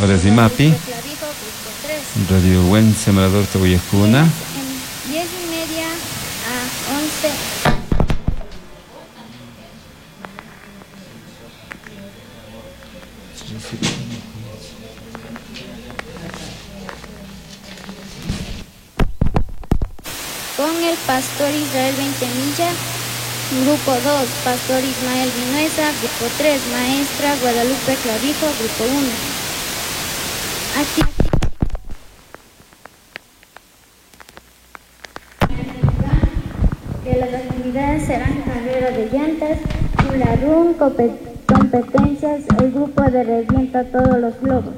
Horas imapi Guadalupe Clavijo, grupo 3. Radio Buen Sembrador uyajkuna. 10:30 a 11. Con el pastor Israel Veintemilla, grupo 2, pastor Ismael Vinuesa, grupo 3, maestra Guadalupe Clavijo, grupo 1. De las actividades serán carrera de llantas, hula run, competencias, el grupo de revienta todos los globos.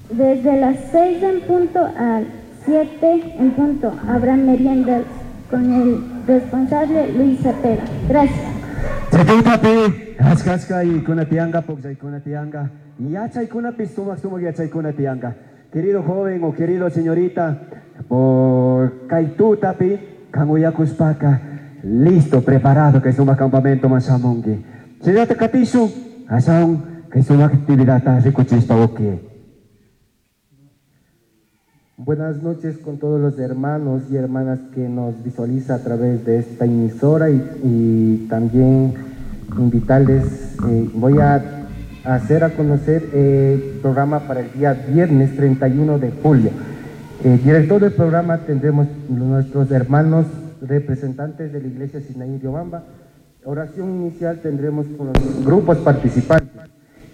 Desde las 6 en punto a 7 en punto habrá meriendas con el responsable Luis Cepeda. Gracias. Chaytapi, achka achka ikuna tiyanka, pukllaykuna tiyanka, yachaykunapi sumak sumak yachaykuna tiyanka. Querido joven o querido señorita, por kay tutapi, kan uyakushpaka, listo, preparado kay sumak campamento man shamunki. Chayllata katishun, ashawan kay sumak actividadta rikuchishpa uki. Buenas noches con todos los hermanos y hermanas que nos visualiza a través de esta emisora y también invitarles, voy a hacer a conocer el programa para el día viernes 31 de julio. Director del programa tendremos nuestros hermanos representantes de la Iglesia Sinaí Riobamba. Oración inicial tendremos con los grupos participantes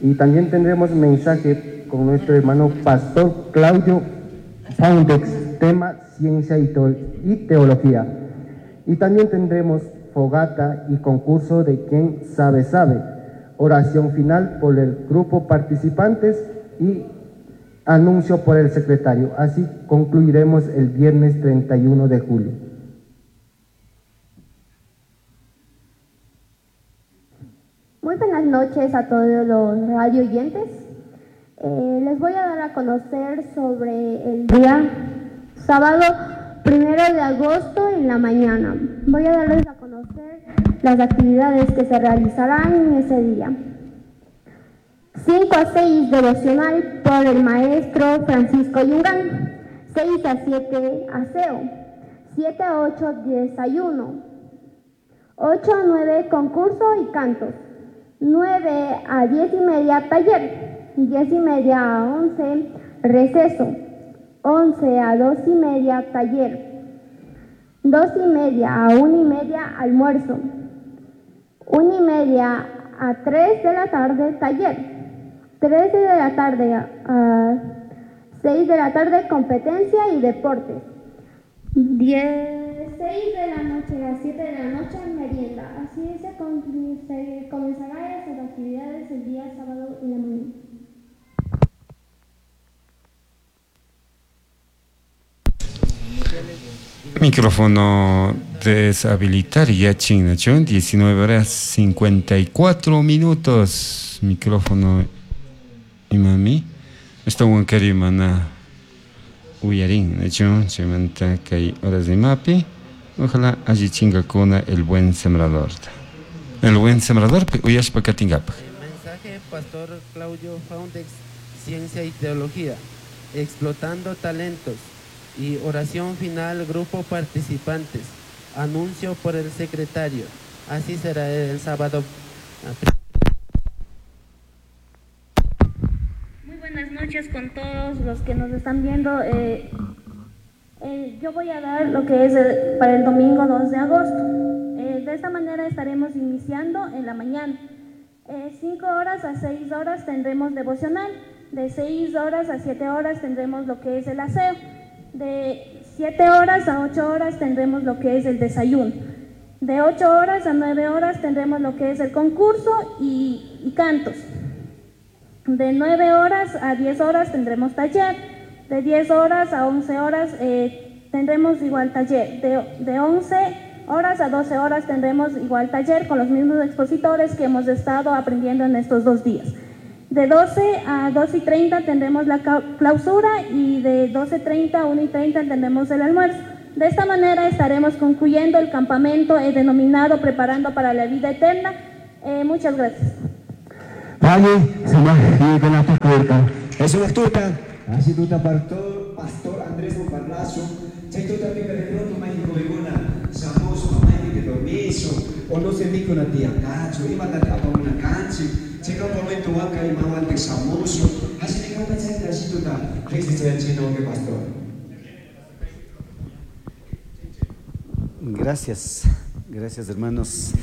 y también tendremos mensaje con nuestro hermano Pastor Claudio Foundex, tema ciencia y teología. Y también tendremos fogata y concurso de quien sabe, sabe. Oración final por el grupo participantes y anuncio por el secretario. Así concluiremos el viernes 31 de julio. Muy buenas noches a todos los radio oyentes. Les voy a dar a conocer sobre el día sábado 1 de agosto en la mañana. Voy a darles a conocer las actividades que se realizarán en ese día. 5 a 6 devocional por el maestro Francisco Yungán. 6 a 7 aseo. 7 a 8 desayuno. 8 a 9 concurso y cantos. 9 a 10 y media taller. 10 y media a 11 receso. 11 a 2 y media taller. 2 y media a 1 y media almuerzo. 1 y media a 3 de la tarde taller. 3 de la tarde a 6 de la tarde competencia y deportes. 6 de la noche a 7 de la noche merienda. Así se comenzará esas actividades el día sábado en la mañana. Micrófono deshabilitar ya chingachón, 19 horas 54 minutos. Micrófono y mami. Está un mana uyarin, nachón, chimanta kay horas de mapi. Ojalá allí chingacuna el buen sembrador. El buen sembrador, uyashpa katingapa. Mensaje Pastor Claudio Foundex, Ciencia y Teología, explotando talentos. Y oración final, grupo participantes, anuncio por el secretario. Así será el sábado. Muy buenas noches con todos los que nos están viendo. Yo voy a dar lo que es para el domingo 2 de agosto. De esta manera estaremos iniciando en la mañana. 5 horas a 6 horas tendremos devocional. De 6 horas a 7 horas tendremos lo que es el aseo. De 7 horas a 8 horas tendremos lo que es el desayuno. De 8 horas a 9 horas tendremos lo que es el concurso y cantos. De 9 horas a 10 horas tendremos taller. De 10 horas a 11 horas tendremos igual taller. De 11 horas a 12 horas tendremos igual taller con los mismos expositores que hemos estado aprendiendo en estos 2 días. De 12 a 2:30 tendremos la clausura y de 12:30 a 1:30 tendremos el almuerzo. De esta manera estaremos concluyendo el campamento denominado Preparando para la Vida Eterna. Muchas gracias. Valle, Tukurka. Sumak tuta, así tuta pastor, pastor Andrés Parlazo, chay tuta pica de pronto mayqin jovenkuna shamushpa maypi dormiso, o no se mikuna tiyankachu, imatata apamuna kanchik, chay campamento wanka imawantik shamushun, así kanka chayta así tuta riqsichayachina wawqi pastor. Gracias, gracias hermanos.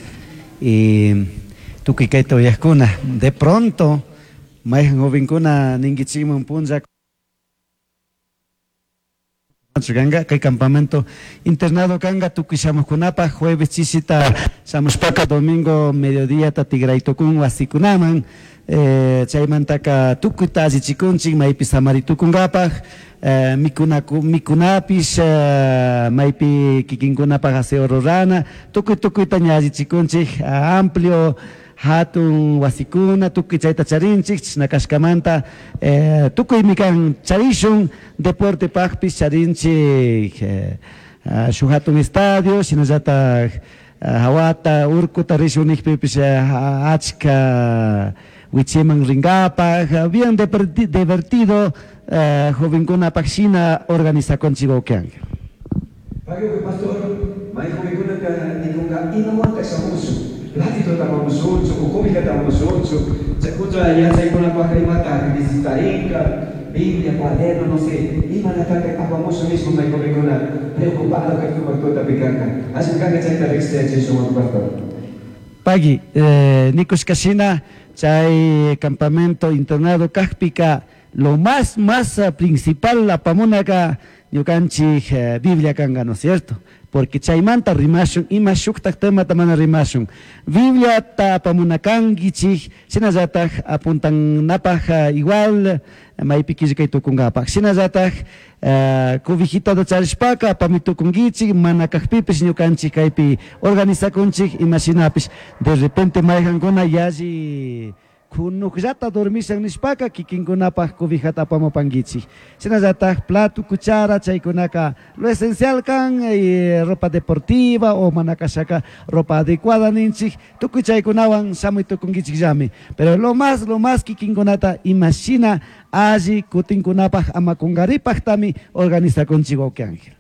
Tukuy kayta uyaqkuna, de pronto mayqan jovenkuna ninkichikman punlla kanga kay campamento internado kanga tukuy shamuqkunapaq jueves chisita shamushpaka domingo mediodía tigraytukun wasikunaman, chaymantaka tukuyta allichikunchik maypi samaritukunkapaq, mikunapish, maypi kikinkunapaq aseo rurana, tukuy tukuyta ña allichikunchik, amplio hatun wasikuna tukuy chayta charinchik, chashna kashkamanta, tukuymi kan charishun deportepaqpish charinchik, shuk hatun estadio, shinallatak hawata urkuta rishun nikpipish, achka wichiman rinkapaq, bien divertido, jovenkunapaq shina organizakunchik wawqianka. Pagui pastor, may jovenkunaka nikunka imawanta shamushun, platito tapamushunchu, cobijata tapamushunchu, chaykuncha yachaykunapaq imata necesitarinka, Biblia, cuaderno, no sé, imanataka apamushun nishpa may jovenkuna preocupado kay sumak tutapi kanka. Así kanka chayta riqsichaychishun pastor. Pagui, nikushkashina chay campamento internado kaqpika lo más principal apamunaka ñukanchik, Biblia kanka, ¿no es cierto? Porque chaymanta rimashun, ima shuktak temata mana rimashun. Biblia ta apamunakankichik, shinallatak apuntanapaj, igual maypi killkay tukunkapaj. Shinallatak, cobijitata charishpaka apamitukunkichik, mana kaqpipish ñukanchik kaypi organizakunchik, ima shinapish de repente mayqankuna yalli kunukllata dormishan nishpaka kikinkunapaj cobijata apamupankichik. Shinallatak plato, cuchara, chaykunaka lo esencial kan, ropa deportiva o mana kashaka ropa adecuada ninchik, tukuy chaykunawan shamuy tukunkichik llami. Pero lo más kikinkunata imashina alli kutinkunapaj ama kunkaripajtami organizakunchik wawqi Ángel.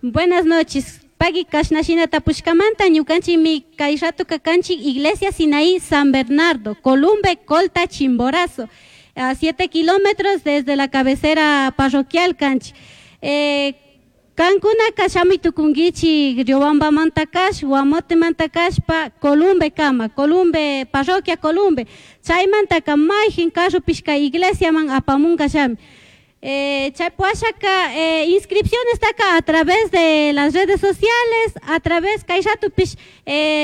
Buenas noches. Pagui kashnashina tapushkamanta ñukanchikmi kay rato kakanchik Iglesia Sinaí San Bernardo, Columbe, Colta, Chimborazo, a 7 kilómetros desde la cabecera parroquial kanchik. Kankuna kashamuy tukunkichik Riobamba mantakash, Guamote mantakashpa, Columbe kama, Columbe, parroquia Columbe. Chaymantaka mayjin carropish kay iglesiaman apamunka shami. Chaypuashaka, inscripción está acá a través de las redes sociales, a través kay ratupish,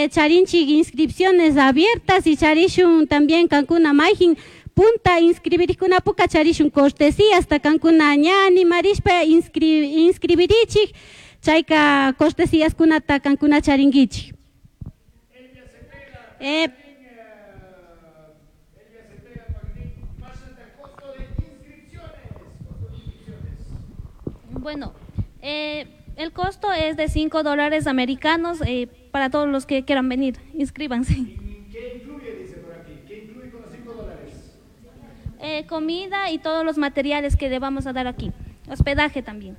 charinchik inscripciones abiertas y charishun también kankuna mayjin punta inscribirikunapuka charishun cortesía hasta kankuna ña animarishpa inscribirichik, chayka cortesías kunata kankuna charinkichik. Bueno, el costo es de $5 americanos, para todos los que quieran venir, inscríbanse. ¿Qué incluye, dice por aquí? ¿Qué incluye con los $5? Comida y todos los materiales que le vamos a dar aquí, hospedaje también.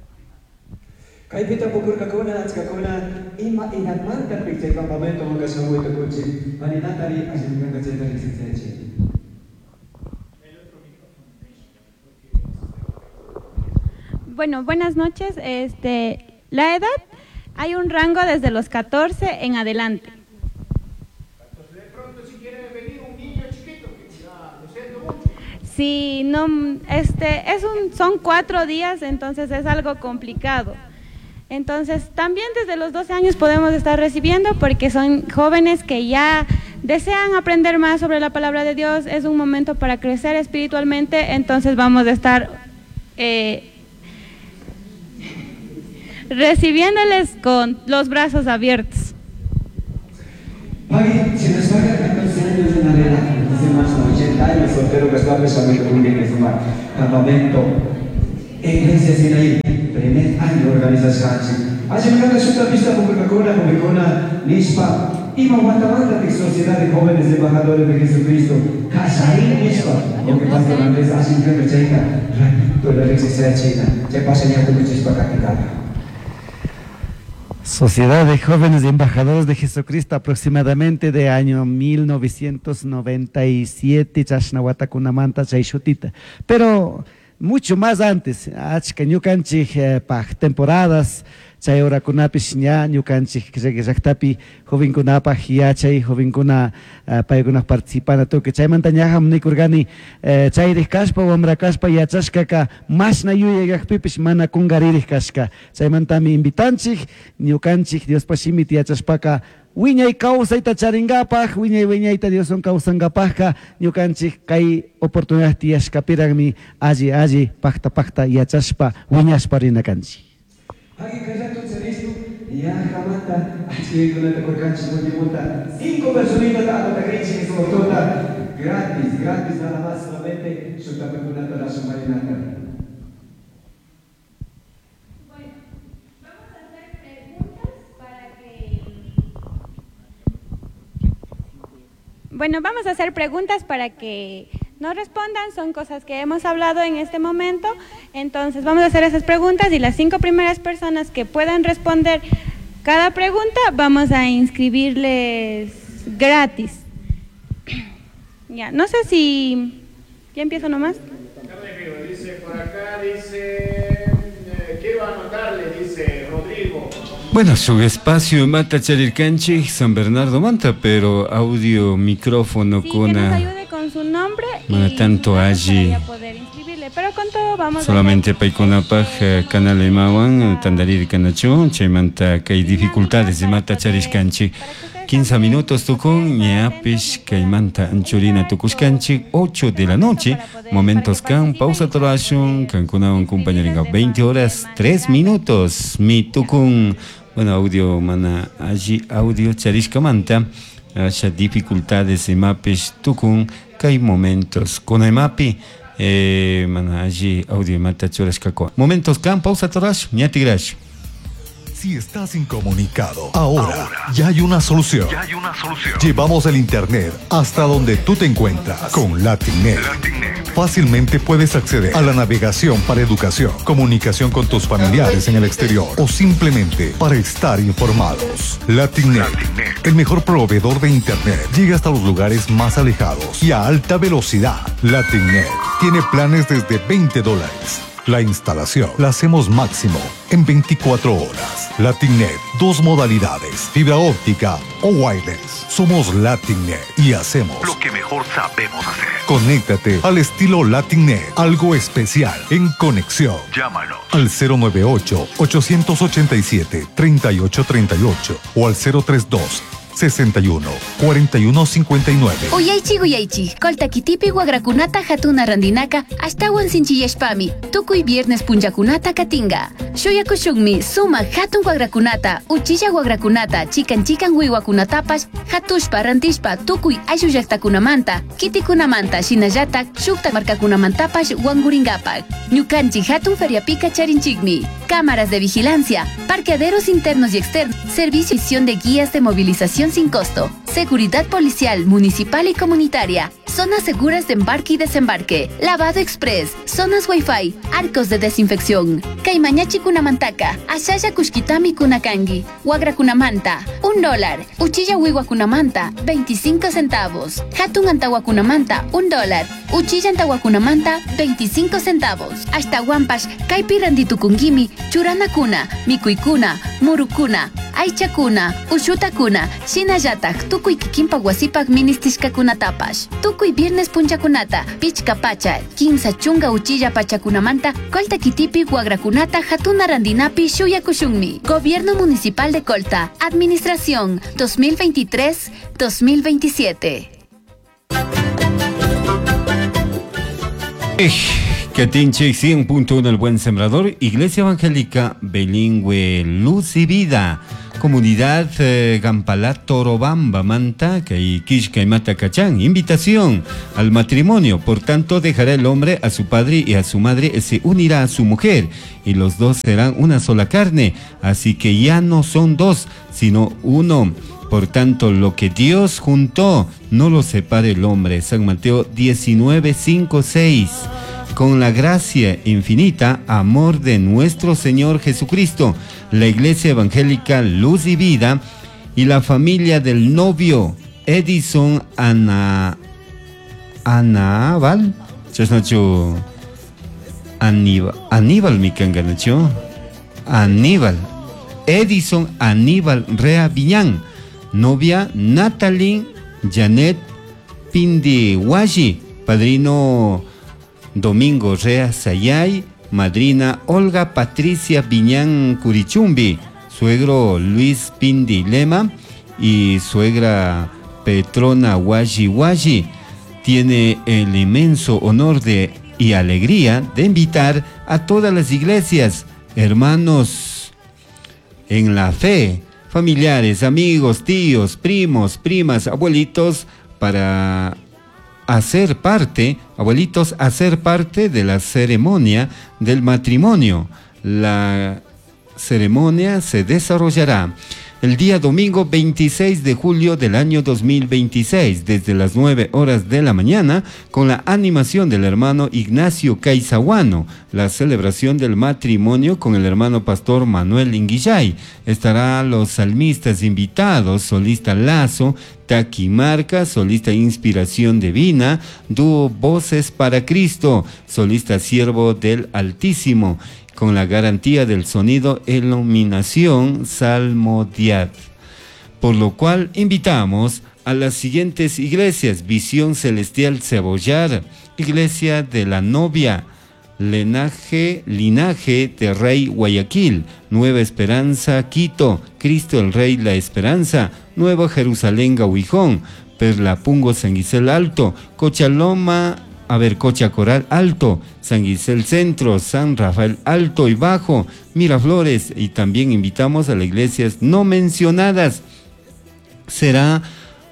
Kaypita pukurkakuna, achkakuna, ima edadmanta chay campamento shamuy tukunchik, maninatari allinkanka chayta riqsichaychik. Bueno, buenas noches. La edad, hay un rango desde los 14 en adelante. Entonces, de pronto, si quiere venir un niño chiquito, que ya lo siento mucho. Sí, no, son 4 días, entonces es algo complicado. Entonces, también desde los 12 años podemos estar recibiendo, porque son jóvenes que ya desean aprender más sobre la palabra de Dios, es un momento para crecer espiritualmente, entonces vamos a estar recibiéndoles con los brazos abiertos. Pagui, si nos paga 14 años en adelante, entonces más de 80 años, soltero que está pensando que un campamento, Iglesia Sinaí. Pensashkanchik. Allimkanta shutapishta pukllakuna, jovenkuna nishpa ima watamanta Sociedad de Jóvenes Embajadores de Jesucristo kallarin nishpa. Porque Pastor Andrés allimkanta chayta ratito la riqsisachina chay pasha tukuchishpa katikapa. Sociedad de Jóvenes Embajadores de Jesucristo, aproximadamente de año 1997, chashna watakunamanta chay shutita. Pero mucho más antes, achka ñukanchik paj temporadas, chay horakunapish ña ñukanchik llaqtapi jovenkunapaj yachay, jovenkuna paykuna participana tukuy. Chaymanta ñajam nikurqani chayriq kashpa, wamra kashpa yachashkaka mashna yuyayqaqpipish mana kunqaririq kashka. Chaymantami invitanchik ñukanchik Diospa shimita yachashpaka wiñay kawsayta charinkapaj, wiñay wiñayta Dioswan kawsankapajka ñukanchik kay oportunidad tiyashkapiraqmi alli alli pakta pakta yachashpa wiñashpa rina kanchik. Yajamanta achkaykunata kurkanchik multipunta 5 personitas anotakrinchik sumaktota gratis, gratis nada más, solamente shutapakunata rashumarinata. Bueno, vamos a hacer preguntas para que nos respondan, son cosas que hemos hablado en este momento, entonces vamos a hacer esas preguntas y las 5 primeras personas que puedan responder cada pregunta vamos a inscribirles gratis. Ya, no sé si ya empiezo nomás. Dice por acá, dice, quiero anotarle, dice Rodrigo. Bueno, su espacio mata charirkanchik San Bernardo Manta, pero audio, micrófono sí, con que nos ayude con su nombre y tanto allí. Para poder inscribirle, pero con todo vamos solamente paykunapaj canal imawan tandarir kanachu chaymanta kay dificultades de mata charishkanchik 15 minutos tukun ñapish kaymanta anchurina tukushkanchik 8 de la noche momentos kan pausa torashun kankunawan compañeringa 20 horas 3 minutos mi tukun. Bueno, audio mana allí audio charishkamanta asha dificultades imapish tukun kay momentos con imapi mana allí audio mata churashkako momentos kan pausa torash ñatigrash. Si estás incomunicado, ahora ya hay una solución. Ya hay una solución. Llevamos el internet hasta donde tú te encuentras con LatinNet. Fácilmente puedes acceder a la navegación para educación, comunicación con tus familiares en el exterior o simplemente para estar informados. LatinNet, el mejor proveedor de internet, llega hasta los lugares más alejados y a alta velocidad. LatinNet tiene planes desde $20. La instalación la hacemos máximo en 24 horas. LatinNet, 2 modalidades, fibra óptica o wireless. Somos LatinNet y hacemos lo que mejor sabemos hacer. Conéctate al estilo LatinNet, algo especial en conexión. Llámanos al 098-887-3838 o al 032 61 41 59. Uyaychi uyaychi, Colta kitipi wagrakunata hatuna randinaka ashtawan sinchiyashpami, tukuy viernes punllakunata katinga. Shuyakushunmi suma hatun wagrakunata, uchilla wagrakunata, chikan chikan wiwakunatapash, hatushpa rantishpa tukuy ayllu llaqtakunamanta, kitikunamanta, shinallatak shukta markakunamantapash wanguringapak. Ñukanchik hatun feriapika charinchikmi, cámaras de vigilancia, parqueaderos internos y externos, servicio de guías de movilización sin costo, seguridad policial, municipal y comunitaria, zonas seguras de embarque y desembarque, lavado express, zonas wifi, arcos de desinfección. Kaymañachi kunamantaka, ashalla kushkitami kunakangi, wagra kunamanta, $1, uchilla wiwa kunamanta, 25 centavos, hatun antawa kunamanta, $1, uchilla antawa kunamanta, 25 centavos. Hasta wampash, kaypi randitukungimi, churanakuna, mikuykuna, murukuna, aychakuna, ushutakuna, shinallatak, tukuy kikinpak wasipak ministishkakunatapash. Tukuy viernes punchakunata, pichka pacha, 15 chunga uchilla pachakunamanta, Colta kitipi wagrakunata hatuna randinapi shuyakushunmi. Gobierno Municipal de Colta, Administración 2023-2027. Katinchik 100.1 El Buen Sembrador, Iglesia Evangélica Bilingüe Luz y Vida. Comunidad Gampalá Torobamba Manta kay Kishka imata kachan. Invitación al matrimonio. Por tanto, dejará el hombre a su padre y a su madre, se unirá a su mujer, y los dos serán una sola carne. Así que ya no son dos, sino uno. Por tanto, lo que Dios juntó, no lo separe el hombre. San Mateo 19, 5, 6. Con la gracia infinita, amor de nuestro Señor Jesucristo, la Iglesia Evangélica Luz y Vida y la familia del novio Edison Aníbal, chasnachu Aníbal, Aníbal mikanganachu, Aníbal, Edison Aníbal Rea Viñán, novia Natalie Janet Pindiwashi, padrino Domingo Rea Sayay, madrina Olga Patricia Viñán Curichumbi, suegro Luis Pindi Lema y suegra Petrona Washi Washi. Tiene el inmenso honor y alegría de invitar a todas las iglesias, hermanos en la fe, familiares, amigos, tíos, primos, primas, abuelitos, para hacer parte, abuelitos, hacer parte de la ceremonia del matrimonio. La ceremonia se desarrollará el día domingo 26 de julio del año 2026, desde las 9 horas de la mañana, con la animación del hermano Ignacio Caizahuano, la celebración del matrimonio con el hermano pastor Manuel Inguillay. Estará los salmistas invitados, solista Lazo, Taquimarca, solista Inspiración Divina, dúo Voces para Cristo, solista Siervo del Altísimo, con la garantía del sonido Iluminación Salmodiad. Por lo cual invitamos a las siguientes iglesias: Visión Celestial Cebollar, Iglesia de la Novia, Linaje de Rey Guayaquil, Nueva Esperanza Quito, Cristo el Rey La Esperanza, Nueva Jerusalén Gahuijón, Perlapungo San Gisel Alto, Cochaloma, Cocha Coral Alto, San Gisel Centro, San Rafael Alto y Bajo, Miraflores, y también invitamos a las iglesias no mencionadas. Será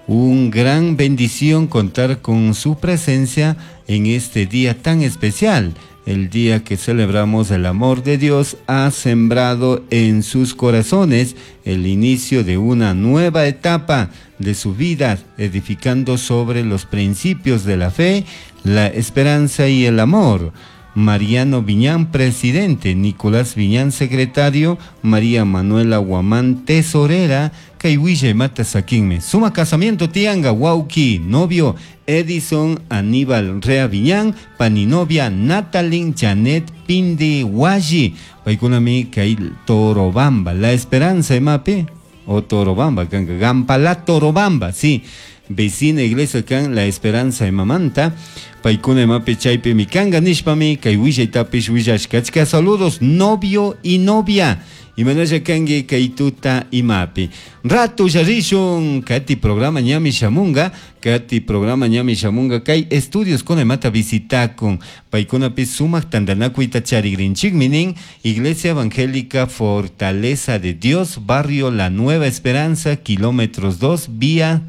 un gran bendición contar con su presencia en este día tan especial, el día que celebramos el amor de Dios ha sembrado en sus corazones el inicio de una nueva etapa de su vida, edificando sobre los principios de la fe, la esperanza y el amor. Mariano Viñán, presidente; Nicolás Viñán, secretario; María Manuela Guamán, tesorera; Kaiwilla Mata Saquinme. Suma casamiento Tianga, Wauki, novio Edison Aníbal Rea Viñán, paninovia Natalin Janet Pindi Washi, Paikunami Kail Torobamba, La Esperanza Emape, o Torobamba, Gampala Torobamba, sí. Vecina iglesia kan La Esperanza Emamanta, Paikuna emape chaype mikanga nishpami, kay willaytapish willashkachka. Saludos, novio y novia. Imanasha kangi kay tuta imapi. Rato yarishun, kati programa ñami shamunga, kati programa ñami shamunga, kay estudios con emata visitakun. Paikunapi sumaq tantanakuyta charigrinchikminin, Iglesia Evangélica Fortaleza de Dios, Barrio La Nueva Esperanza, kilómetros 2, vía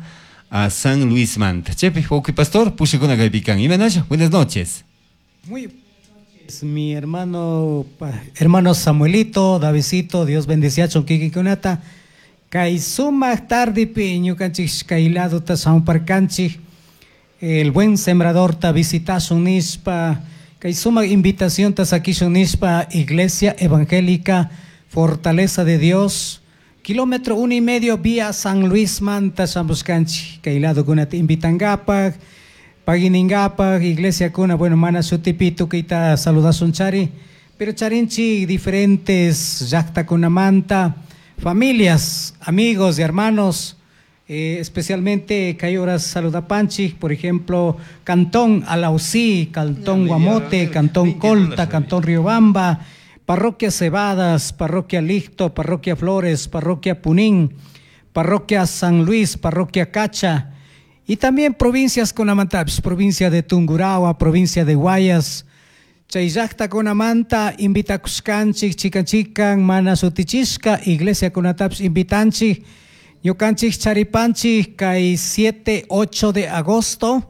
a San Luis Manta. Chepe, ok, pastor, pushikuna kaypikan. Imanasha, buenas noches. Muy buenas noches, mi hermano Samuelito, Davidcito, Dios bendice a Chonquiquikunata. Kay sumaq tardipi ñukanchik kay laduta shamuparkanchik, el buen sembrador ta visitashun nishpa, kay sumaq invitación ta sakishun nishpa, Iglesia Evangélica Fortaleza de Dios, kilómetro 1.5 vía San Luis Manta shamushkanchik, kay ladukunata invitangapak, paginingapak, iglesia kuna, bueno, mana shutipi tukuyta saludasun chari, pero charinchi diferentes llaqtakunamanta, familias, amigos y hermanos, especialmente kay horas saludapanchik, por ejemplo, Cantón Alausí, Cantón Guamote, Cantón Colta, Cantón Riobamba, Parroquia Cebadas, Parroquia Licto, Parroquia Flores, Parroquia Punín, Parroquia San Luis, Parroquia Cacha, y también provincias con Amantapis, provincia de Tungurahua, provincia de Guayas. Chay llaqtakunamanta invitakushkanchik chikan chikan mana sutichishka iglesiakunatapish invitanchik. Ñukanchik charipanchik kay 7, 8 de agosto,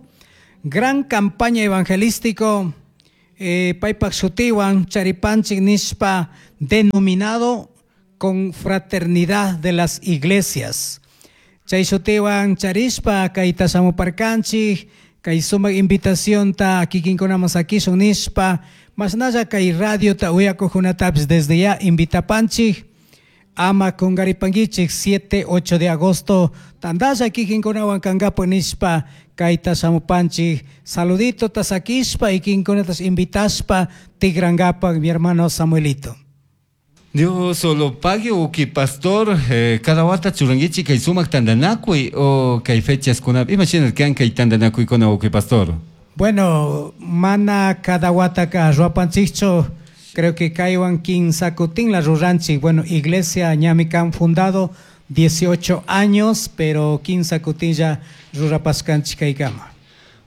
gran campaña evangelístico paypak shutiwan charipanchik nishpa denominado con fraternidad de las iglesias. Chay shutiwan charishpa kayta shamuparkanchik, kay sumak invitacionta kikinkunaman sakishun nishpa, mashnalla kay radiota uyakuqkunatapis desde ya invitapanchik, ama kunkaripankichik 7, 8 de agosto tantalla kikinkunawan kankapak nishpa kayta shamupanchik, saluditota sakishpa y kikinkunatas invitashpa tikrankapak mi hermano Samuelito. Dios solo pague uki pastor, cada wata churanguichi kay sumak tandanakuy o kay fechas kuna, imagina kan kay tandanakuy kuna uki pastor. Bueno, mana cada wata ka ruapanchicho, creo que kaywan kinsakutin la ruranchik. Bueno, iglesia ñami kan fundado 18 años, pero kinsakutin ya rurapaskanchik kaykama.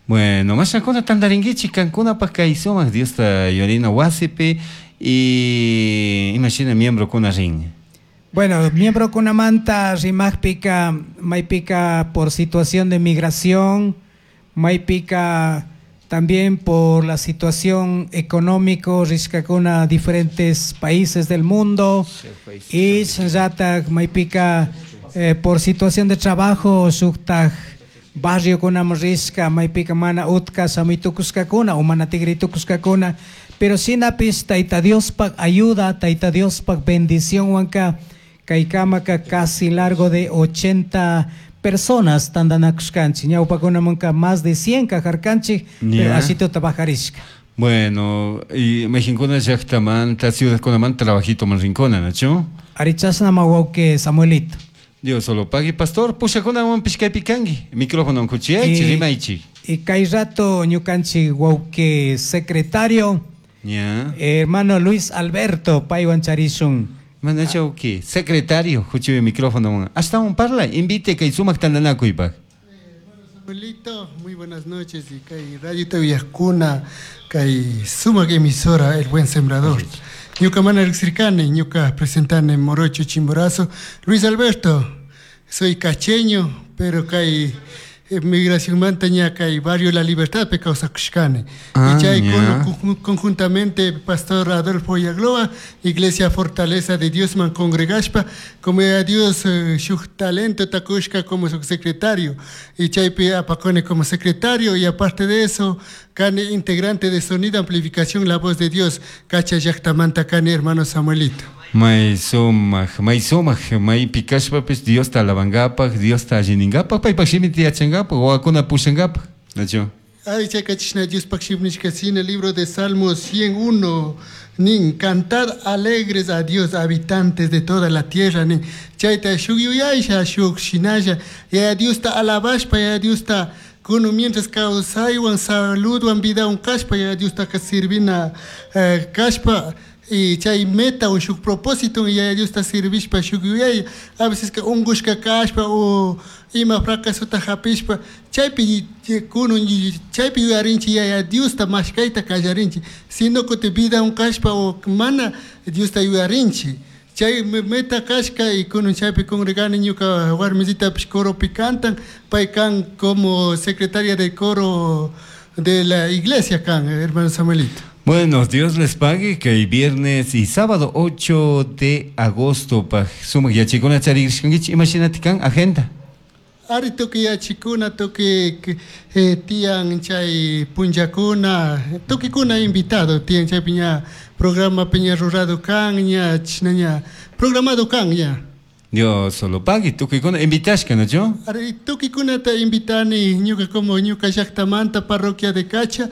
Bueno, mashakuna tandaringuichi kankunapaq kay sumak Diosta yorina wasipi y imagina miembro kuna rin. Bueno, miembro kunamanta rimajpika, maypika por situación de migración, maypika también por la situación económico, rishkakuna diferentes países del mundo, y shinllatak maypika por situación de trabajo, shuktaj barrio kunaman rishka, maypika mana utka shamuytukushkakuna o mana tigritukushkakuna, pero shinapis Tayta Diospak ayuda, Tayta Diospak bendición wanka, kaykamaka casi largo de 80 personas tandanakushkanchik, ñawpakunamanka más de 100 kajarkanchik, pero ashituta bajarishka. Bueno, y Mexincuna llaqtamanta, ciudadkunamanta trabajito man rincona, ¿nachu? Arichasnama wawqi Samuelito. Dios solo pague, pastor, pushakunawan pishkaypi kanki, micrófono kuchiyaychik, rimaychik. Y kay rato ñukanchik wawqi secretario, hermano Luis Alberto paywan charishun. Manacha wawqi, secretario, kuchiy micrófono. Hasta un parla, invite kay sumak tandanakuypaq. Samuelito, muy buenas noches y kay Radio Taviascuna, kay sumak emisora El Buen Sembrador. Ñuka mana riqsirkani, ñuka presentane Morocho Chimborazo. Luis Alberto, soy cacheño, pero kay migración manta kay barrio La Libertad pe kawsakushkani. Y chay conjuntamente Pastor Adolfo Yagloa, Iglesia Fortaleza de Dios man congregashpa, como a Dios shuk talento takushka como su secretario, y chaypi apacone como secretario, y aparte de eso, kani integrante de Sonido Amplificación La Voz de Dios, Cacha llaqtamanta kani hermano Samuelito. May sumak, may sumak, may pikashpapis Diosta alabankapaq, Diosta allininkapak, paypak shimita yachankapak, wawakuna pushankapak, ¿nachu? Ay, chayka chishna Diospaq shimnishka sina, libro de Salmos 101, nin, cantad alegres a Dios, habitantes de toda la tierra, nin, chayta shuk yuyaysha, shuk shinalla, ya Diosta alabashpa, ya Diosta kuno mientras kawsaywan, saludwan, vidawan kashpa, ya Diosta sirvina kashpa, y chay meta o shuk propósito ya Diosta sirvishpa shuk yuyay, a veces que ungushka kashpa o ima fracasota hapishpa, chaypi kuno chaypi yuyarinchi ya Diosta mashkayta kallarinchi, sino que te vida un kashpa o mana Diosta yuyarinchi. Chay meta kashka y kuno chaypi congregani ñuka warmisitapish coropi cantan, pay kan como secretaria del coro de la iglesia kan, hermano Samuelito. Bueno, Dios les pague que el viernes y sábado 8 de agosto pa sumak yachikuna charishkankichik, imagínate kan agenda. Ari tukuy yachikuna, tukuy tiyan chay punllakuna, tukikuna invitado, tiyan chay piña programa piña rurado kan, ña chishna ña programado kan ña. Dios solo pague, tukikuna invitashka, ¿no yo? Ari tukikunata invitani, ñuka como ñuka llaqtamanta, parroquia de Cacha,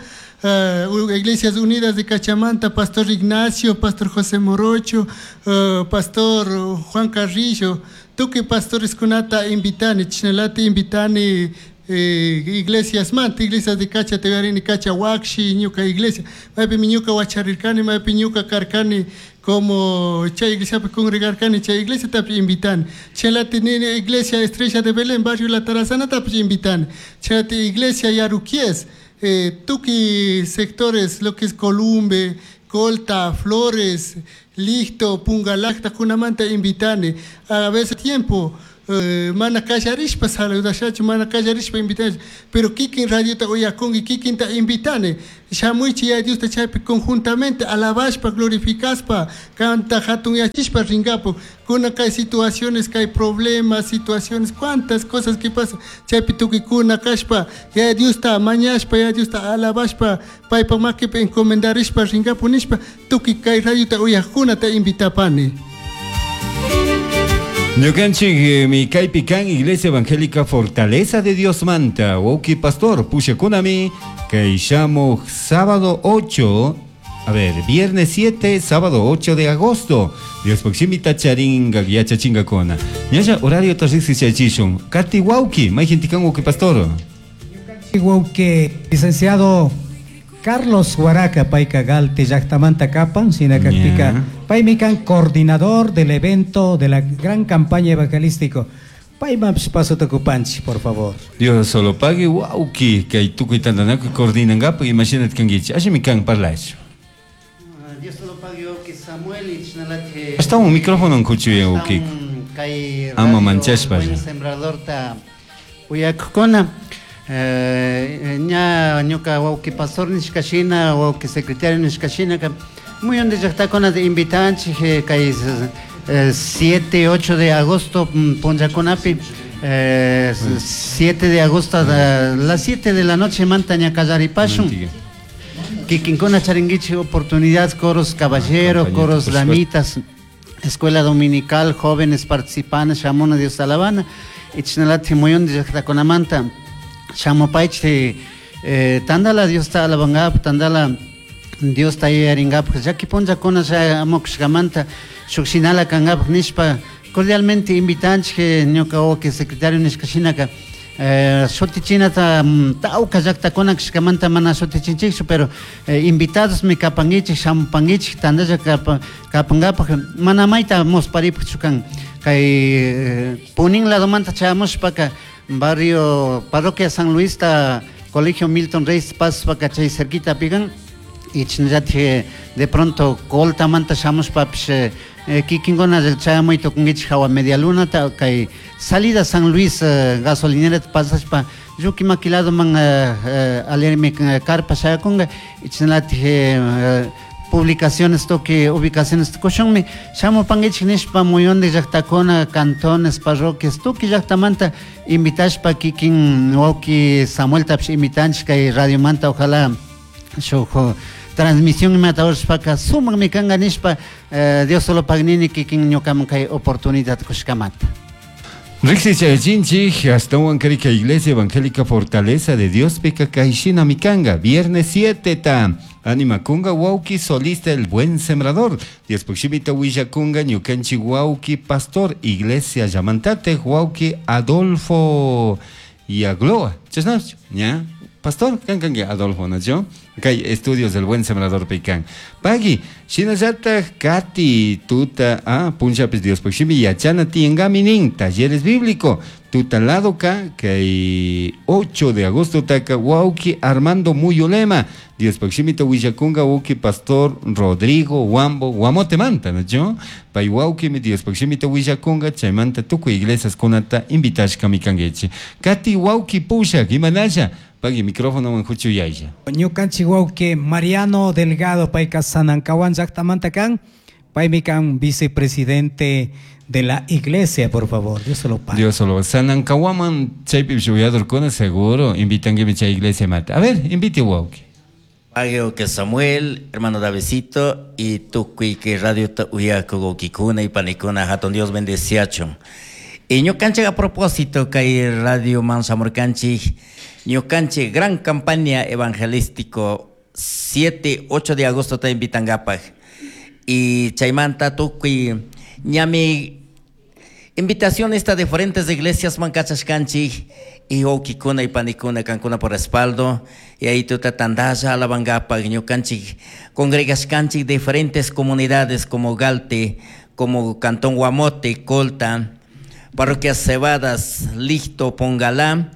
Iglesias Unidas de Cachamanta, Pastor Ignacio, Pastor José Morocho, Pastor Juan Carrillo, tukuy pastores kunata invitani, chishnalati invitani iglesias manta, iglesias de Cacha, Tegarini, Cacha, Huaxi, ñuka iglesia, maypimi ñuka wacharirkani, maypi ñuka karkani, como chay iglesia congregarkani, chay iglesia tapi invitani, chishnalati nini iglesia Estrella de Belén, barrio La Tarazana tapi invitani, chishnalati iglesia Yaruquies, Tukuy sectores, lo que es Columbe, Colta, Flores, Licto, Pungalacta, kunamanta invitani. A veces tiempo mana kallarishpa saludashachu, mana kallarishpa invitani, pero kikin radiota uyakunki, kikinta invitani. Shamuichi ya Diosta chaypi conjuntamente alabashpa, glorificaspa, kanta hatunyachishpa ringapu. Kuna kay situaciones, kay problemas, situaciones, cuántas cosas que pasan. Chaypi tukikuna kashpa, ya Diosta mañashpa, ya Diosta alabashpa, paypa makipi encomendarishpa ringapu nishpa, tukuy kay radiota uyajkunata invitapani. Ñukanchik mi kaypi kan Iglesia Evangélica Fortaleza de Dios Manta, Woki Pastor, pushakunami, kay shamuj sábado 8, a ver, viernes 7, sábado 8 de agosto. Dios proximita charinga yachachingakuna. Ñalla horario tarrixichachishun. Kati wauki, mayjintikan Woki Pastor. Wauki, licenciado Carlos Huaraca, payka Galte, llaktamanta kapan, sinakakpika, paymi kan coordinador del evento de la gran campaña evangelístico. Paymanpish pasota kupanchik, por favor. Dios solo pague, wauki, kay tukuy tantanakuy coordinangapak, imagínate kankichik, allimi kan parlash. Dios solo pague, wauki Samuel, y chinalate. Hasta un micrófono nkuchuya, wauki. Kay Ama radio manchashpa. Buen sembradorta uyakukuna. Ña ñuka wauki pastor nishkashina, wauki secretario nishkashina, ka muyundi llaktakuna de invitanchik, kay 7, 8 de agosto, punllakunapi, 7 de agosto a las 7 de la noche manta ña kallaripashun. Kikinkuna charinguichik oportunidad, coros caballero, Campaña, coros por supuesto. damitas, escuela dominical, jóvenes participantes, shamuna Dios alabana, y chinalati muyundi llaktakunamanta. Shamupaichi, tandala Dios ta alabangap, tandala Dios ta yaringap, yaki punllakuna ya amukushkamanta, shukshinala kangap nishpa, cordialmente invitanchik, ñuka wawki secretario nishkashinaka, shutichinata, tawka llaktakuna kashkamanta mana shutichinchikchu, pero invitados mi kapangichik, shamupangichik, tandalla kapangapak, mana mayta musparipukchu kan, kay Punin ladomanta chayamushpaka, barrio Parroquia San Luis ta Colegio Milton Reyes paspa chay cerquita pigan y chinllati de pronto colta manta shamushpapish, kikinguna chayamuy tukunkichik hawa media luna ta kay salida San Luis, gasolinera pasashpa lluki makilado man, alermi, carpa shayakunga y chinllati, publicaciones toque ubicaciones tukushunmi shamupankichik nishpa muyundi llaktakuna cantones parroquias tukuy llaktamanta invitashpa kikin wawki Samueltapish invitanchik kay radiomanta ojalá shuk transmisión imata urashpaka sumakmi kanka nishpa, Dios solo pagnini kikin ñukaman kay oportunidad kushkamanta. Rixichayachinchik, hasta Huancarika Iglesia Evangélica Fortaleza de Dios Pica Kaishina Mikanga, viernes 7 ta. Anima kunga wauki solista el buen sembrador. Dios proximita huilla kunga ñukanchi wauki pastor Iglesia Yamantate wauki Adolfo y Agloa. Chesnach, ¿ya? Pastor, kan kan que Adolfo, ¿no? Yo, kay estudios del buen sembrador pecan. Pagui, shinallata kati tuta, ah, punchapis Dios proximi yachana tiengaminin, talleres bíblico. Tuta lado ka, kay 8 de agosto taka wauki Armando Muyolema. Dios proximito huillakunga wauki pastor Rodrigo Wambo Guamote manta, ¿no? Yo, pay wauki mi Dios proximito huillakunga chaymanta tukuy iglesias kunata invitashka mikangechi. Kati wauki pusha, imanalla. Pagui micrófono manjuchu yaya. Ñukanchik wauki Mariano Delgado payka Sanancahuán llaktamanta kan, paymi kan vicepresidente de la iglesia, por favor, Dios se lo pague. Dios solo. Sanancahuaman chaypi shuyadorkuna seguro invitan que chay iglesia mata. A ver, invite wauki. Pague que Samuel, hermano Davidcito, y tukuy que radio ta uyaku wawkikuna y panikuna, hatun Dios bendeciachun. Y ñukanchik a propósito kay radio Mansamurkanchik, ñukanchik gran campaña evangelístico 7, 8 de agosto te invitan gapaj. Y chaymanta tukuy ñami invitación esta de diferentes iglesias mancachashkanchik y wawkikuna y panikuna kankuna por respaldo y ahí tuta tandalla alabangapaj ñukanchik congregashkanchik diferentes comunidades como Galte, como Cantón Guamote, Colta, Parroquias Cebadas, Listo, Pongalá,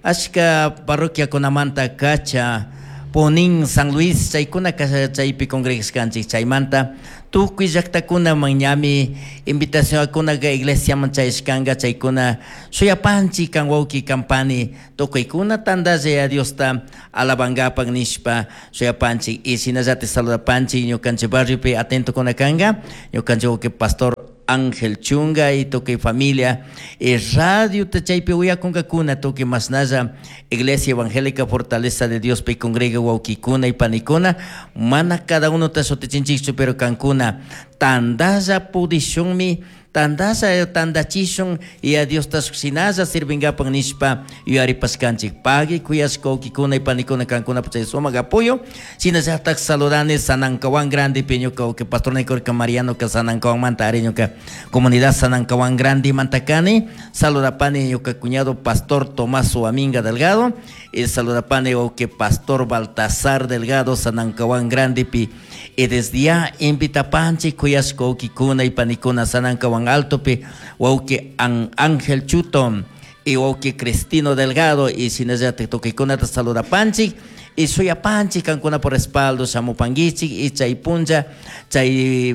Ashka parroquiakunamanta Cacha, Punín, San Luis, chaykuna chaypi congregashkanchik. Chaymanta tukuy llaqtakunaman ñami invitacionkunaka iglesiaman chayashkanka, chaykuna shuyapanchik kan wawki kampani tukuykuna tantalla Diosta alabankapak nishpa shuyapanchik. Y shinallatik saludapanchik ñukanchik barriopi atentokuna kanka ñukanchik wawki pastor Ángel Chunga y tukuy familia y radio chaypi uyakunkakuna tukuy mashnalla Iglesia Evangélica Fortaleza de Dios pi congrega wawkikuna y panikuna mana cada uno ta shutichinchikchu pero kankuna tantalla pudishunmi tantalla tantachishun y a Diosta shinalla sirvinkapak nishpa yuyaripashkanchik. Pagui kuyashka wawkikuna y panikuna kankuna chay sumak apoyo. Shinallatak saludani Sanancahuán Grande pi ñuka wawki pastor Nicorca Mariano ka Sanancahuánmanta ari ñuka comunidad Sanancahuán Grande mantakani. Saludapani ñuka cuñado pastor Tomás Huaminga Delgado y saludapani wawki pastor Baltasar Delgado Sanancahuán Grande pi. Y desde ya invitapanchik kuyashka wawkikuna y panikuna Sanancahuán Alto pi wawki Ángel Chuto y wawki Cristino Delgado y shinallatik tukuykunata saludapanchik y suyapanchik kankuna por respaldo shamupankichik y chay punlla chay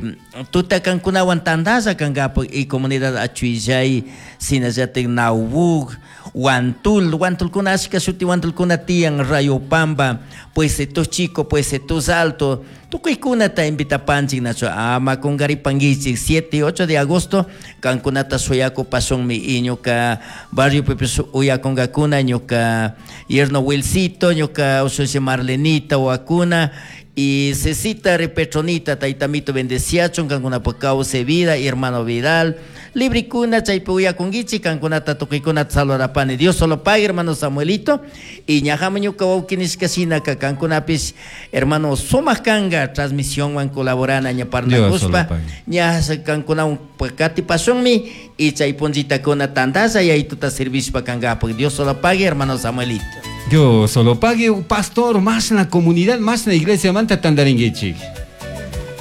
tuta kankunawan tantalla kankapak y comunidad Achuillay shinallatik Naubuk Huantul, Huantulkuna ashka shuti Huantulkuna tiyan Rayopamba, Pueseto Chico, Pueseto Alto, tukuykunata invitapanchik nacho ama kunkaripankichik 7 y 8 de agosto kankunata suyakupashunmi y ñuka barrio pipish uyakunkakuna ñuka yerno Wilcito, ñuka ushushi Marlenita wakuna y Cecita Repetronita, taytamito bendeciachun, kankunapa kawsay vida, hermano Vidal, librikuna, chaypi uyakunkichik, kankunata tukuykunata saludapani. Dios solo pague, hermano Samuelito, y ñajama ñuka wawki nishka shinaka, kankunapish, hermano sumak kanka, transmisionwan colaborana ña parlakuspa, ña kankunawan katipashunmi, y chay punchitakuna tantalla yaytuta servishpa kankapak. Dios solo pague, hermano Samuelito. Dios solo pague, pastor, más en la comunidad, más en la iglesia, manta tandaringuichik.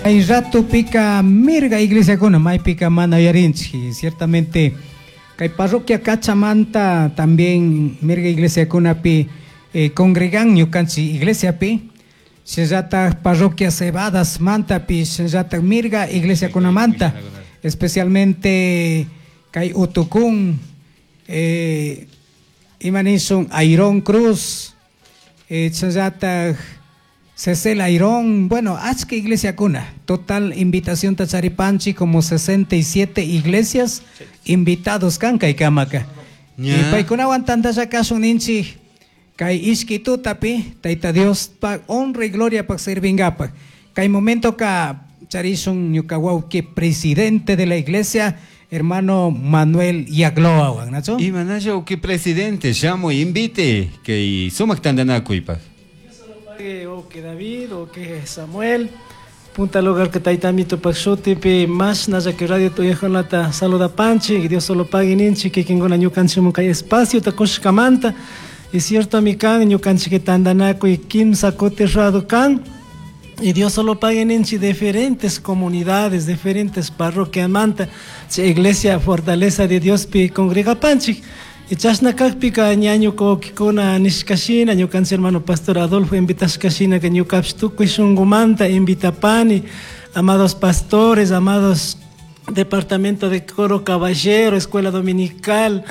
Hay rato pica mirga iglesia con may pica mana yarinchi. Ciertamente, kay parroquia Cachamanta también mirga iglesia con pi congregan ñukanchi iglesia pi. Shinllata parroquia Cebadas manta pi, shinllata mirga iglesia con manta. Especialmente kay Utucún, imanishun Airón Cruz, shinllata Cecel Airón, bueno, achka iglesia kuna. Total invitación tacharipanchi como 67 iglesias invitados kanka y kamaka. Y paikunawan tantalla kasun ninchi kay ishki tutapi, Tayta Dios pa honra y gloria pa sirvingapa. Kay momento ka charishun ñuka wawki presidente de la iglesia, hermano Manuel Yagloa, ¿nacho? Y manayo que presidente, llamo y invite que sumak tandanakuypa. O que David o que Samuel, punta lugar que taitamito paxutipi, más naya que radio tuyajonata saluda panchi, y Dios solo pague ninchi, que quien gona ñukanchi munkay espacio takushkamanta, y cierto mi kan, ñukanchi que tandanaku y kimsa coterrado kan, y Dios solo pague ninchi diferentes comunidades, diferentes parroquias manta, iglesia Fortaleza de Dios pi congrega panchi. Y chashna kakpika ñañu kukikuna nishkashina ñukanchik hermano pastor Adolfo invitashkashina que ñukapish tukuy shunkumanta invitapani, amados pastores, amados departamento de coro caballero, escuela dominical,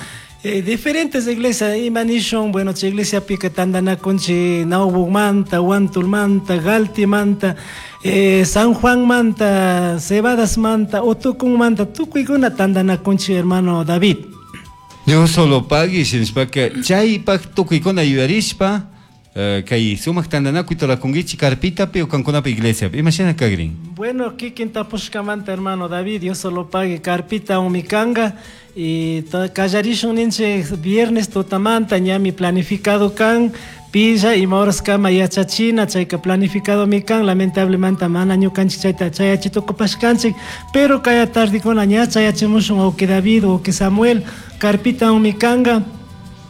diferentes iglesias, imanishun, bueno, che iglesia pica tandanakunchi Naubukmanta, Huantulmanta, Galtimanta, San Juan manta, Cebadas manta, Otucunmanta, tukuykuna tandanakunchi hermano David. Dios solo pague, shinashpaka chaypak tukuykuna yuyarishpa, kay sumak tandanakuy turakunkichik carpitapi o kankunapi iglesiapi. Imashina kagrin? Bueno, kikin tapushkamanta hermano David, Dios solo pague carpita umikanga y kallarishun ninchik viernes tutamanta ñami planificado kan pilla y mahoras kama yachachina chayka planificado mi kan, lamentablemente mana ñukanchik chayta chayachitokupashkanchik, pero kaya tardikuna ña chayachimushun o que David o que Samuel carpita umikanga.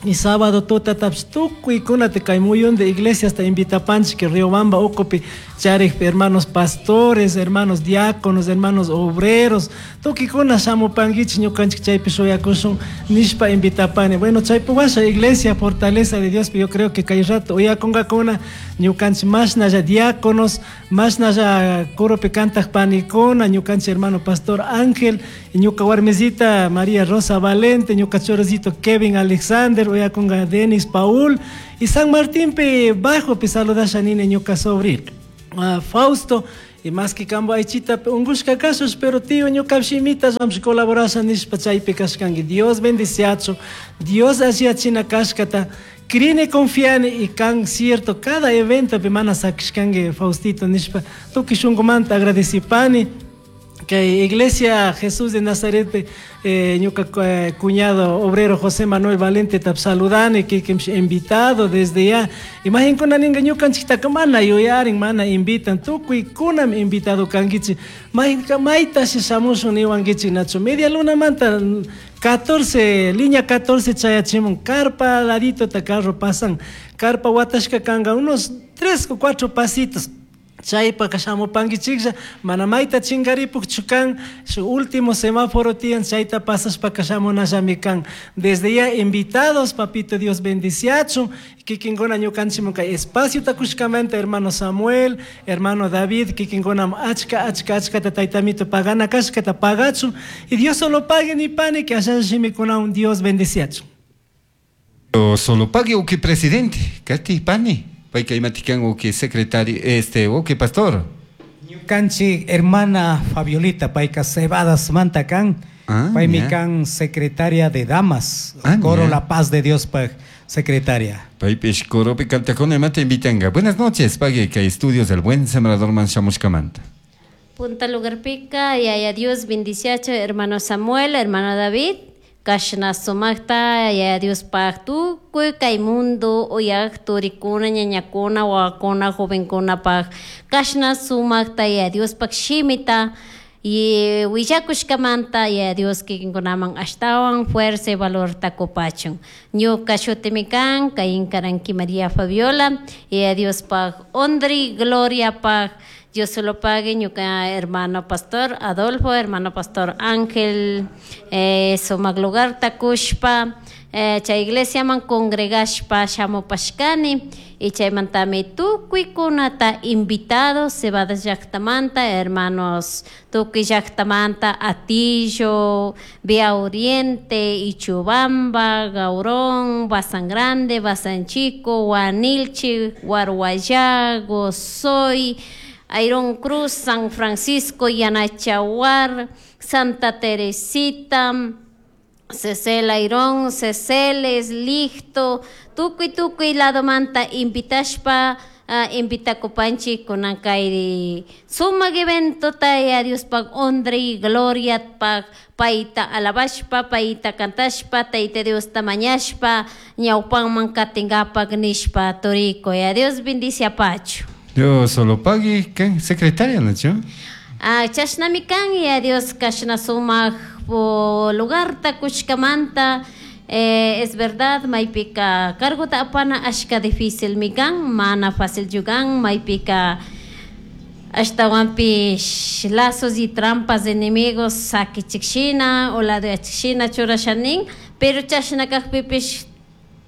Y sábado tuta taps tukuykuna te kay muyun de iglesia hasta invitapanchik que Riobamba ukupi Charik hermanos pastores, hermanos diáconos, hermanos obreros, tukikuna shamupankichik ñukanchik chaypi shuyakushun nishpa invitapani. Bueno, chaypi washa iglesia Fortaleza de Dios, yo creo que kay rato uyakunkakuna ñukanchik mashnalla diáconos, mashnalla coropi kantaq panikuna, ñukanchik hermano pastor Ángel, ñuka warmisita María Rosa Valente, ñuka choricito Kevin Alexander, uyakunka Denis Paul, y San Martín pe bajo pe saludasha nini ñuka sobrino Fausto, y más que kambo aychita ungushka kashus, pero tío ñuka shimita ramshi colaborasha nishpa chaypi kashkanki. Dios bendiciachu, Dios alliyachina kashkata, Crine, confiane y can cierto cada evento pe mana sakishkanki Faustito nishpa tukuy shunqumanta agradecipani que Iglesia Jesús de Nazaret ñuka cuñado obrero José Manuel Valente tap saludani que invitado desde ya. Imaginkuna ninga ñukanchiktaka mana yuyarin, mana invitan, tukuy kunam invitado kankichik. Maytashi shamushun niwankichik nachu media lunamanta 14, línea 14 chayachimun, carpa ladito ta carro pasan, carpa watashka kanga unos 3 o 4 pasitos. Chaypaka shamupankichiklla, mana mayta chinkaripukchu kan, su último semáforo tiyan, chayta pasashpaka shamunallami kan. Desde ya invitados, papito Dios bendiciachun, kikinkuna ñukanchikman kay espacio takushkamanta, hermano Samuel, hermano David, kikinkuna achka, achka, achkata taytamito pagana kashkata pagachun, y Dios solo pague ni pane, que allá shimikunawan Dios bendiciachun. Solo pague o que presidente, Katy pani. Payka imatikan o que secretario, o que pastor. Ñukanchik hermana Fabiolita, payka Cebadas manta kan, paymi kan secretaria de damas, coro La Paz de Dios pa secretaria. Paypish coropi kantakuna imata invitanga. Buenas noches, pague kay estudios del Buen Sembrador man shamushkamanta. Punta lugarpika, yaya Dios bendiciacho, hermano Samuel, hermano David. Kashna sumakta, yaya Dios pak tukuy kay mundo, uyak turikuna, ñañakuna, wawakuna, jovenkuna pak. Kashna sumakta, yaya Dios pak shimita, y willakushkamanta, yaya Dios kikinkunaman ashtawan fuerza y valor takupachun. Ñuka shutimi kan, Caín Karanki María Fabiola, yaya Dios pak ondri, gloria pak. Dios se lo pague, ñuka hermano pastor Adolfo, hermano pastor Ángel, sumak lugar takushpa, chay iglesia man congregashpa shamupashkani, y chaymantami tukuykunata invitados, Cebadas llaqtamanta, hermanos tukuy llaqtamanta, Atillo, Vía Oriente, Ichubamba, Gaurón, Bazán Grande, Bazán Chico, Guanilchi, Guarguayá, Gozoy, Iron Cruz, San Francisco, Yanachahuar, Santa Teresita, Cecel Airón, Ceceles, Listo, tukuy tukuy ladomanta invitashpa, invitakupanchik kunan kay sumak evento taya Dios pag honra y gloria pag payta alabashpa, payta kantashpa, tayta Dios tamañashpa, ñawpanman katinkapak nishpa toriko. Ya Dios bendice a Pacho. Dios solo pague, ¿qué? Secretaria, ¿no? Chashnami kan, ya Dios kashna sumak lugar takushkamanta. Es verdad, maypika cargota apana ashka difícil mikan, mana fácil yugan, maypika ashtawanpish lazos y trampas de enemigos sakichikshina o la de achikshina churashanin, pero chashna kajpipish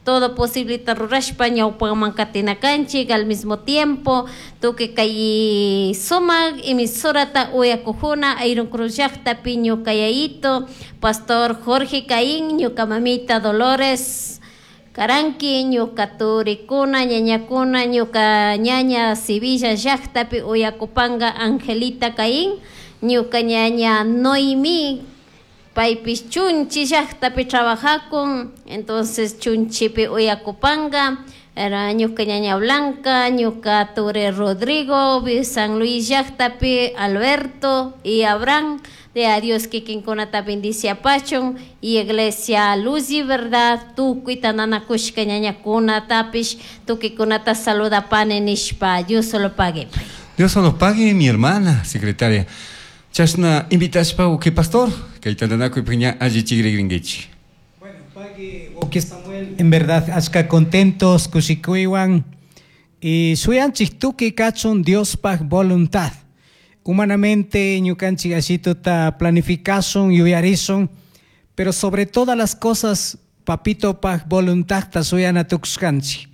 todo posible rurashpa ñawpaman katinakanchik al mismo tiempo tuki kay sumak emisorata uyakujuna Iron Cruz llaqtapi ñuqayayito Pastor Jorge Caín, ñuka mamita Dolores Karanki, ñuka turikuna ñañakuna ñuka ñaña Sevilla llaqtapi uyakupanga Angelita Caín, ñuka ñaña Noemí paypis Chunchi llaqtapi trabajakun, entonces Chunchipi uyakupanga, era ñuka ñaña Blanca, ñuka ture Rodrigo, San Luis llaqtapi Alberto y Abraham, de a Dios kikinkunata bendice pachun, y Iglesia Luz y Verdad, tukuy tananakushka ñañakuna tapish, tukikunata saluda pane nishpa, Dios solo pague. Dios solo pague, mi hermana secretaria. Chashna invitashpa uki pastor, kay tantanakuy piña alli chigri. Bueno, pague uki Samuel, en verdad, ashka contentos, kushikuywan, Y shuyanchik tukuy kachun Diospaj voluntad. Humanamente ñukanchik ashituta planificasun, yuyarisun, pero sobre todas las cosas papitopaj voluntadta shuyana tukushkanchik.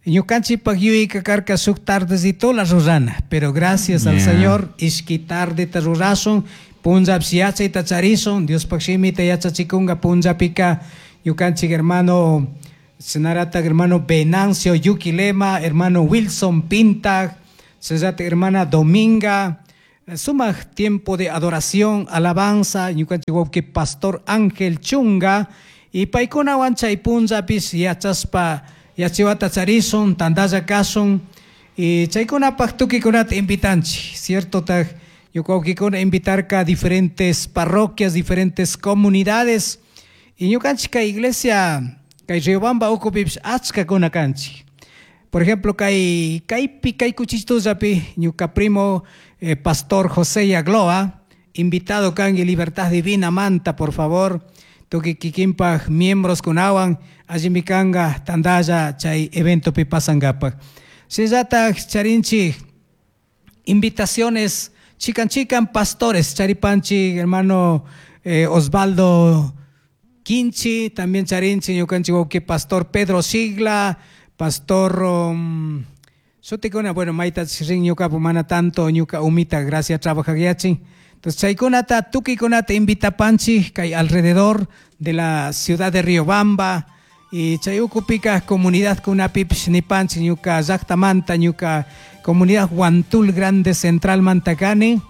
Ñukanchikpaj yuyayka karka shuk tardecitola rurana, pero gracias al Señor ishki tardeta rurasun, punllapish yachayta charisun, Diospaj shimita yachachikunga punllapika ñukanchik hermano Senarata hermano Venancio Yuquilema, hermano Wilson Pinta, Sesate hermana Dominga, sumaq tiempo de adoración, alabanza, ñukanchik wawqi pastor Ángel Chunga, y paykunawan chay punllapis yachaspa yachiwata charisun, tantalla kasun, y chaykunapaq tukuykunata invitanchik, cierto taj ñuka wawqikuna invitarka diferentes parroquias, diferentes comunidades, y ñukanchik kay iglesia kay Riobamba ukupipis achkakuna kanchik. Por ejemplo, kay kaypi kay kuchistullapi ñuka primo pastor José Yagloa, invitado kanki Libertad Divina manta, por favor, tukuy kikinpaj miembros kunawan allimi kanka tantalla chay eventopi pasankapaj. Shinallataj charinchik invitaciones chikan chikan pastores charipanchik hermano Osvaldo Quinchi, también charinchik ñukanchik wawqi pastor Pedro Sigla, pastor sutikuna, bueno, mayta rin ñukapu mana tanto ñuka umita gracias trabajayachin. Entonces chaykunata tukuykunata invitapanchik kay alrededor de la ciudad de Riobamba y chay ukupika comunidad kunapipish nipanchik ñuka llaqtamanta ñuka comunidad Huantul Grande Central Mantacani,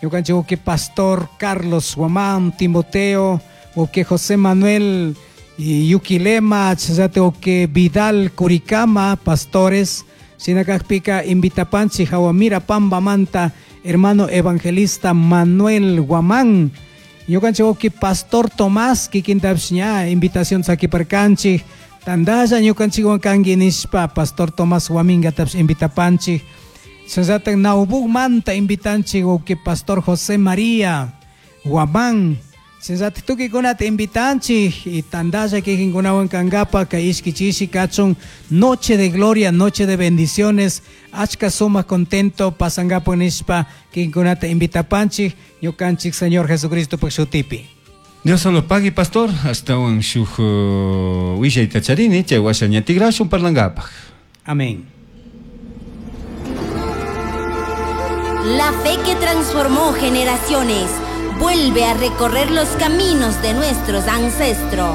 ñukanchik wawqi pastor Carlos Guamán, Timoteo, wawqi José Manuel y Yuquilema, chayllata wawqi Vidal Curicama, pastores, shinakajpika invitapanchik Jawamira Pambamanta, hermano evangelista Manuel Guamán, ñukanchik wawqi pastor Tomás kikintapish ña invitación sakiparkanchik, tantalla ñukanchikwan kanki nishpa pastor Tomás Guamingatapish invitapanchik, chayllata Naubukmanta invitanchik wawqi pastor José María Guamán, chayllata tukuykunata invitanchik y tantalla kikinkunawan kankapa kay ishki chishi kachun noche de gloria, noche de bendiciones, achka sumaq contento pasankapak nishpa kikinkunata invitapanchik ñukanchik Señor Jesucristo shutipi. Dios solo pague, pastor, hasta un shuk willayta charini, chay washa ña tigrashun parlankapaj. Amén. La fe que transformó generaciones vuelve a recorrer los caminos de nuestros ancestros.